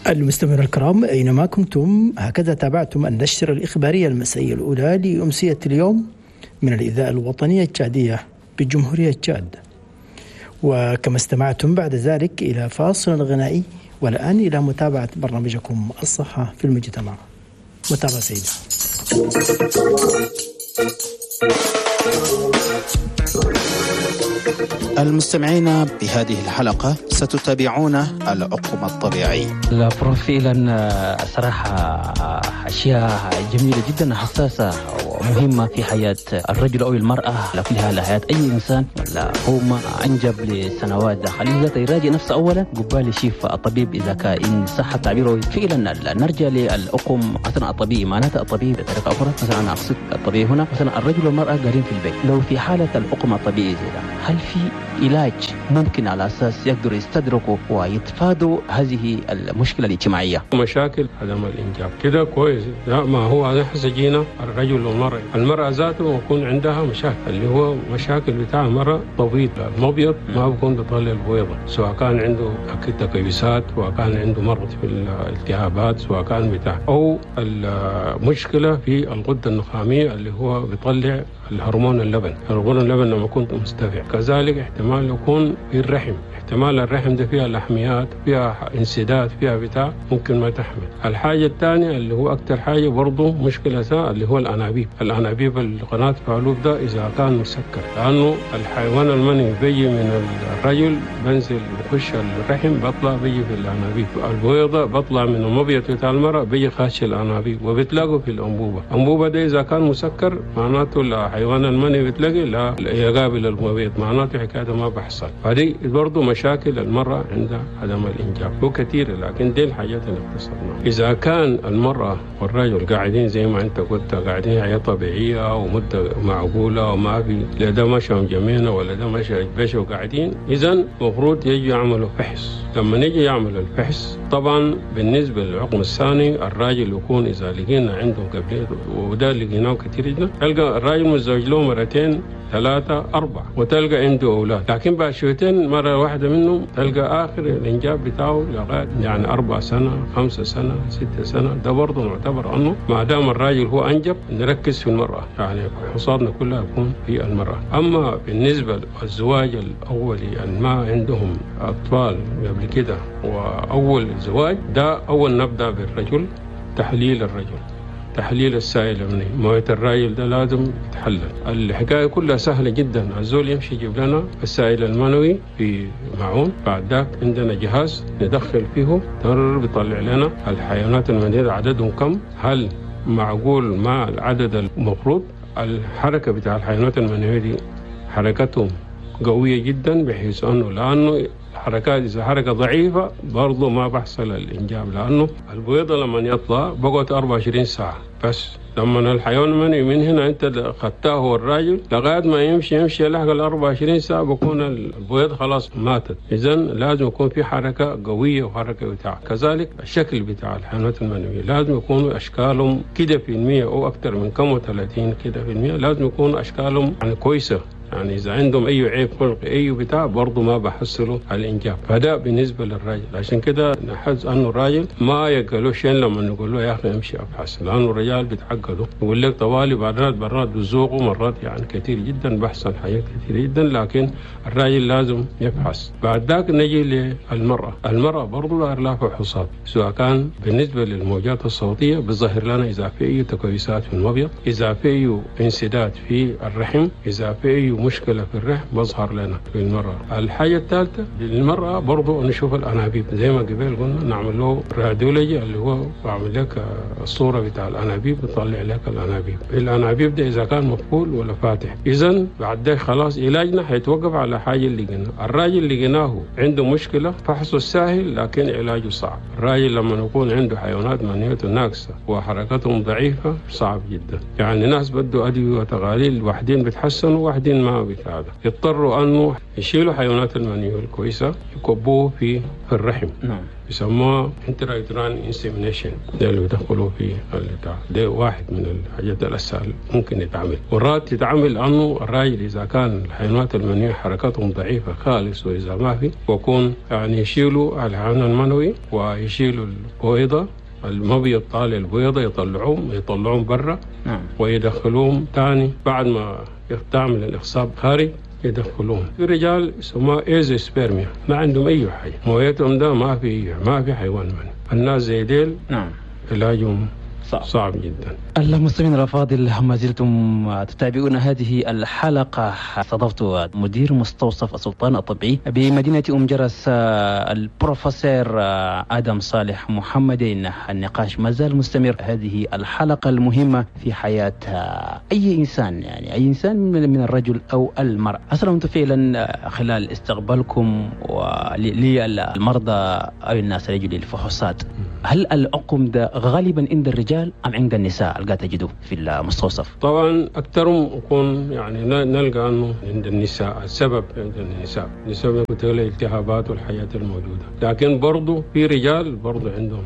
المستمعون الكرام أينما كنتم، هكذا تابعتم النشرة الإخبارية المسائية الأولى لأمسية اليوم من الإذاعة الوطنية التشادية بجمهورية تشاد. وكما استمعتم بعد ذلك إلى فاصل غنائي، والآن إلى متابعة برنامجكم الصحة في المجتمع. متابعة سيدة. المستمعين بهذه الحلقة ستتابعون العقم الطبيعي. فعلا صراحة أشياء جميلة جدا، حساسة ومهمة في حياة الرجل أو المرأة، لكلها حياة أي إنسان. لا هو ما أنجب لسنوات، خليه يراجع نفسه أولا قبال يشوف الطبيب إذا كان إن صح التعبير. فعلا نرجع للعقم مثلا الطبيعي، معناته الطبيعي بطريقة أخرى، مثلا أنا أقصد الطبيعي هنا مثلا الرجل والمرأة قاعدين في البيت، لو في حالة العقم الطبيعي زي ده هل في علاج ممكن على أساس يقدروا يستدركوا ويتفادوا هذه المشكلة الاجتماعية؟ مشاكل عدم الإنجاب كده كويس. لا ما هو نحن جينا الرجل والمرأة، المرأة ذاته يكون عندها مشاكل اللي هو مشاكل بتاع المرأة تبيض المبيض ما بيكون بيطلع البويضة، سواء كان عنده تكيسات، سواء كان عنده مرض في الالتهابات، سواء كان بتاع أو المشكلة في الغدة النخامية اللي هو بيطلع الهرمون اللبن، هرمون اللبن لما يكون مستفع. كذلك احتمال يكون في الرحم، احتمال الرحم ده فيها لحميات، فيها انسداد، فيها بتاع ممكن ما تحمل. الحاجة الثانية اللي هو أكثر حاجة برضه مشكلة اللي هو الأنابيب، الأنابيب القناة فالوب ده إذا كان مسكر، لأنه الحيوان المنوي بيجي من الرجل بنزل بخش الرحم بطلع بيجي في الأنابيب، البويضة بطلع من المبيض بتاع المرأة بيجي خاش الأنابيب وبتلاقوا في الأنبوبة. الأنبوبة ده إذا كان مسكر معناته الحيوان المنوي بتلاقي لا يقابل المبيض، معناته حكاية ما بحصل. فدي برضه مشاكل المرأة عند عدم الإنجاب هو كثير، لكن دي الحاجات اللي اختصرناها. إذا كان المرأة والرجل قاعدين زي ما أنت قلت قاعدين حياة طبيعية ومدة معقولة وما في لا ده مشى جميلة ولا ده مشى بشوا وقاعدين، إذا المفروض يجي يعملوا فحص. لما نيجي يعمل الفحص طبعا بالنسبة للعقم الثاني الراجل يكون إذا لقينا عنده قبل، وده لقيناه كثير جدا، تلقى الراجل متزوج له مرتين 3 4 وتلقى عنده أولاد، لكن بعد شويتين مرة واحدة منهم تلقى آخر الإنجاب بتاعه لغاية يعني 4 سنة 5 سنة 6 سنة. ده برضه معتبر أنه ما دام الراجل هو أنجب نركز في المرأة، يعني حصادنا كلها يكون في المرأة. أما بالنسبة للزواج الأولي اللي ما عندهم أطفال قبل كده وأول زواج ده، أول نبدأ بالرجل، تحليل الرجل، تحليل السائل المنوي، موية الراجل ده لازم يتحلل. الحكاية كلها سهلة جدا، الزول يمشي يجيب لنا السائل المنوي في معون، بعد ذاك عندنا جهاز ندخل فيه تر بيطلع لنا الحيوانات المنوية عددهم كم، هل معقول مع العدد المفروض. الحركة بتاع الحيوانات المنوية دي حركتهم قوية جدا، بحيث أنه لأنه حركات إذا حركة ضعيفة برضو ما بحصل الإنجاب، لأنه البويضة لما يطلع بقعد 24 ساعة بس. لما الحيوان المنوي من هنا أنت خدتاه الراجل لغاية ما يمشي لحق 24 ساعة بكون البويض خلاص ماتت. إذن لازم يكون في حركة قوية وحركة بتاع. كذلك الشكل بتاع الحيوانات المنوية لازم يكونوا أشكالهم كده في المية أو أكثر من كم و30 كده في المية، لازم يكونوا أشكالهم يعني كويسة، يعني إذا عندهم أي عيب خلقي أي بتاع برضو ما بحصلوا على الإنجاب. فده بالنسبة للراجل. عشان كده نحس أنه الراجل ما يقالوا شيء لما نقول له يا أخي امشي أبحث، لأنه الرجال بيتعقدوا يقول لك طوالي مرات مرات بيزوقوا مرات يعني كثير جدا بحصل حاجات كثير جدا، لكن الراجل لازم يبحث. بعد ذاك نجي للمرأة، المرأة برضو لها فحوصات، سواء كان بالنسبة للموجات الصوتية بتظهر لنا إذا في أي تكويسات في المبيض، إذا في أي انسداد في الرحم، إذا في أي مشكلة في الرحم بظهر لنا في المرأة. الحاجة الثالثة للمرأة برضو نشوف الأنابيب زي ما قبل قلنا، نعمل له radiology اللي هو بعمل لك الصورة بتاع الأنابيب، بيطلع لك الأنابيب، الأنابيب ده إذا كان مقفول ولا فاتح. إذن بعد ده خلاص علاجنا حيتوقف على حاجة اللي قلنا. الراجل اللي قلناه عنده مشكلة فحصه سهل لكن علاجه صعب. الراجل لما يكون عنده حيوانات منوية ناقصة وحركتهم ضعيفة صعب جدا، يعني ناس بدوا أدوية وتغاليل، واحدين بيتحسنوا واحدين ما بتاع ده، يضطروا انه يشيلوا حيوانات المنوية الكويسة يكبوه في الرحم. نعم. يسموها intrauterine insemination، ده اللي بيدخلوا في البتاع ده، واحد من الحاجات الاسهل ممكن يتعمل. مرات يتعمل انه الراجل اذا كان الحيوانات المنوية حركتهم ضعيفة خالص، واذا ما في ويكون يعني يشيلوا الحيوان المنوي ويشيلوا البويضة، المبيض طالع البويضة يطلعوهم برا. نعم. ويدخلوهم تاني بعد ما تعمل الاخصاب خارج يدخلوهم. في رجال يسموها azoospermia، ما عندهم اي حاجة، مويتهم ده ما في حيوان منه. الناس زي ديل نعم علاجهم صعب جدا. المستمعين الافاضل، ما زلتم تتابعون هذه الحلقة. استضفت مدير مستوصف السلطان الطبي بمدينة ام جرس البروفيسور ادم صالح محمدين. النقاش ما زال مستمر. هذه الحلقة المهمة في حياة اي انسان، يعني اي انسان من الرجل او المراة. اصلا انتم فعلا خلال استقبالكم للمرضى او الناس اللي يجوا للفحوصات، هل العقم ده غالبا عند الرجال ام عند النساء اللي تجدوه في المستوصف؟ طبعا اكثرهم يكون يعني نلقى انه عند النساء، السبب عند النساء بسبب الالتهابات والحياة الموجودة، لكن برضه في رجال برضه عندهم،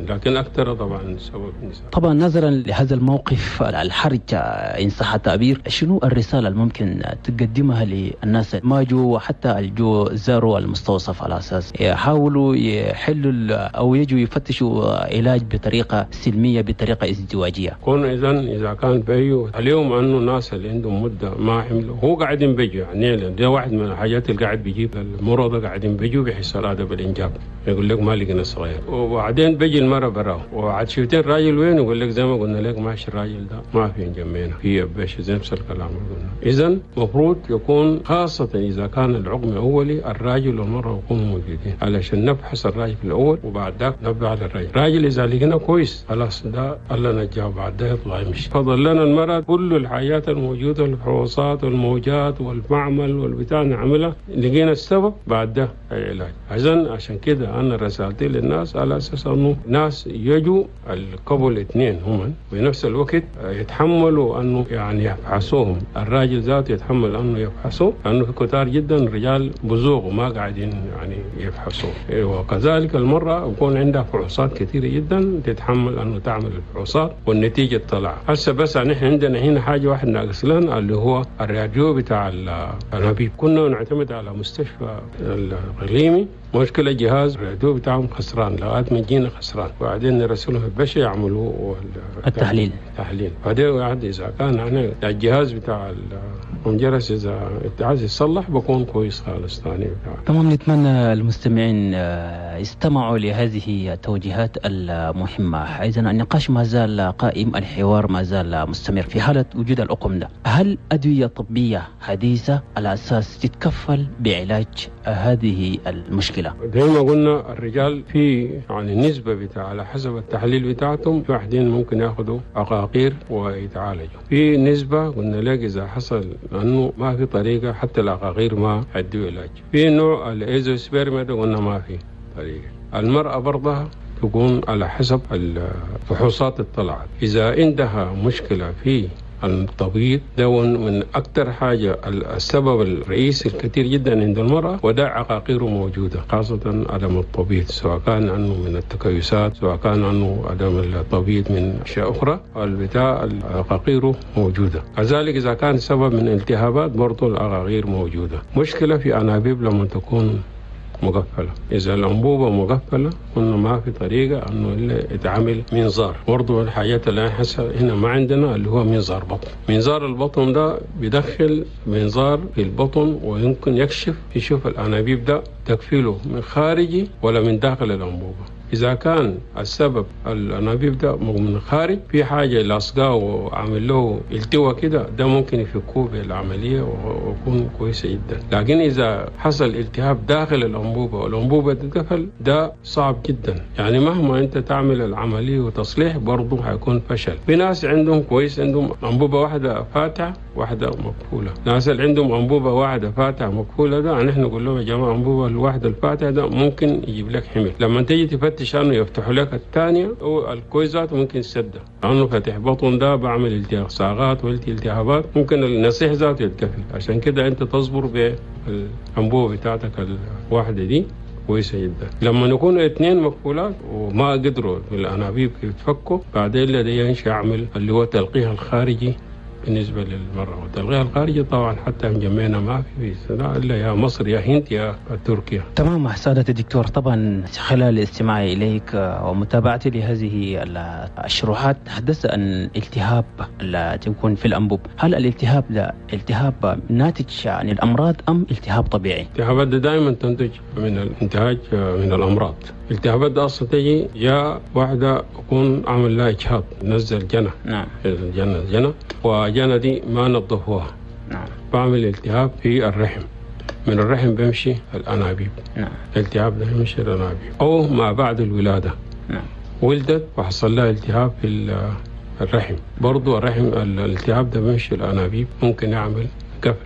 لكن اكثر طبعا سبب النساء. طبعا نظرا لهذا الموقف الحرج ان صح التعبير، شنو الرسالة الممكن تقدمها للناس ما جو وحتى الجو زاروا المستوصف على اساس يحاولوا يحلوا او يجوا يفتشوا علاج بطريقة سلمية بطريقة ازدواجية؟ كون اذا كان بيو اليوم انه الناس اللي عندهم مده ما حملوا هو قاعدين بيجوا، يعني ده واحد من الحاجات اللي قاعد بيجيب المرضى قاعدين بيجوا بيحصل هذا بالانجاب، يقول لك ما لقينا صغير، وبعدين بيجي المرة براه وعاد شفتين الراجل وين، يقول لك زي ما قلنا لك ماشي الراجل ده ما في جنبينا في باش زي نفس الكلام اللي قلنا. اذا المفروض يكون خاصة اذا كان العقم اولي الراجل والمرة يكونوا موجودين علشان نبحث الراجل في الاول وبعد ذاك نبدا على الراجل. الراجل اذا لقينا كويس خلاص ده الله نجاه، بعد ده يطلع يمشي. فضل لنا المرة كل الحاجات الموجودة، الفحوصات والموجات والمعمل والبتاع نعملها، لقينا السبب بعد ده العلاج. عشان كده انا رسالتي للناس على اساس انه ناس يجوا القبل اثنين هم وفي الوقت يتحملوا انه يعني يفحصوهم، الراجل ذاته يتحمل انه يفحصوه، لانه في كتار جدا رجال بزوغ وما قاعدين يعني يفحصوه، وكذلك المرأة يكون عندها فحوصات كثيرة جدا تتحمل انه تعمل الفحوصات والنتيجة تطلع. هسه بس نحن عندنا هنا حاجة واحدة ناقص لنا اللي هو الراديو بتاع الانابيب، كنا نعتمد على مستشفى الغليمي، مشكلة جهاز الراديو بتاعهم خسران لغاية ما جينا خسران، وبعدين نرسلهم البشر يعملوا التحليل. بعدين واحد إذا كان يعني الجهاز بتاع الجرس إذا عايز يصلح بكون كويس خالص ثاني. تمام، نتمنى المستمعين يستمعوا لهذه التوجيهات المهمة. إذا النقاش ما زال قائم، الحوار ما زال مستمر. في حالة وجود العقم ده، هل أدوية طبية حديثة على أساس تتكفل بعلاج هذه المشكلة؟ زي ما قلنا الرجال في يعني النسبة بتاع على حسب التحليل بتاعتهم، في واحدين ممكن ياخذوا عقاقير ويتعالجوا، في نسبة قلنا لك إذا حصل لأنه ما في طريقة حتى العقاقير ما عدوا علاج. في نوع ال azoospermia ده قلنا ما في طريقة. المرأة برضها تكون على حسب الفحوصات اللي طلعت، إذا عندها مشكلة في التبييض ده من أكثر حاجة السبب الرئيسي الكثير جدا عند المرأة، وده عقاقيره موجودة خاصة عدم التبييض، سواء كان عنه من التكيسات، سواء كان عنه عدم التبييض من أشياء أخرى، البتاع العقاقيره موجودة. كذلك إذا كان سبب من التهابات برضو العقاقير موجودة. مشكلة في أنابيب لما تكون مقفلة، إذا الأنبوبة مقفلة قلنا ما في طريقة أنه إلا يتعامل منظار. برضو الحاجات اللي هنا ما عندنا اللي هو منظار بطن. منظار البطن ده بيدخل منظار في البطن ويمكن يكشف يشوف الأنابيب ده تكفيله من خارجي ولا من داخل الأنبوبة. إذا كان السبب الأنابيب ده من خارج في حاجة لاصقاه وعامل له التواء كده، ده ممكن يفكوه بالعملية ويكون كويسة جدا. لكن إذا حصل التهاب داخل الأنبوبة والأنبوبة تتقفل ده صعب جدا، يعني مهما أنت تعمل العملية وتصليح برضه هيكون فشل. في ناس عندهم كويس، عندهم أنبوبة واحدة فاتحة واحدة مقفولة. الناس اللي عندهم أنبوبة واحدة فاتحة مقفولة ده نحن نقول لهم يا جماعة أنبوبة الواحدة الفاتحة ده ممكن يجيب لك حمل، لما تيجي تفتش عنه يفتحوا لك الثانية والكويس ذاته ممكن يسده، لأنه فتح بطن ده بعمل التهاب صاغات والتهابات، ممكن النصيح ذاته يتقفل. عشان كده أنت تصبر بالأنبوبة بتاعتك الواحدة دي كويسة جدا. لما نكون اثنين مقفولات وما قدروا بالأنابيب يتفكوا، بعدين لدي يعمل اللي هو التلقيح الخارجي بالنسبة للمرأة. والتلقيح الخارجي طبعا حتى مجمعنا ما في إلا يا مصر يا هند يا تركيا. تمام سعادة الدكتور، طبعا خلال استماعي إليك ومتابعتي لهذه الشروحات تحدثت عن التهاب التي يكون في الأنبوب. هل الالتهاب ده التهاب ناتج عن الأمراض أم التهاب طبيعي؟ الالتهابات ده دائما تنتج من الانتهاج من الأمراض. الالتهابات ده أصلا تجي يا واحدة يكون عمل لها إجهاض، نزل جنة. نعم. الجنة وجنة دي ما نظفوها. نعم. بعمل التهاب في الرحم، من الرحم بيمشي الأنابيب. نعم. الالتهاب ده بيمشي الأنابيب أو ما بعد الولادة. نعم. ولدت وحصل لها التهاب في الرحم، برضو الرحم الالتهاب ده بيمشي الأنابيب، ممكن يعمل قفل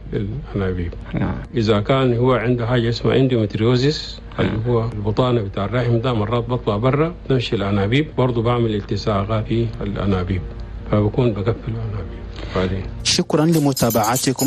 الأنابيب. نعم. إذا كان هو عنده حاجة اسمها endometriosis اللي هو البطانة بتاع الرحم ده مرات بطلع برا تمشي الأنابيب، برضو بعمل التصاقات في الأنابيب، فبكون بقفل الأنابيب بعدين. شكرا لمتابعتكم.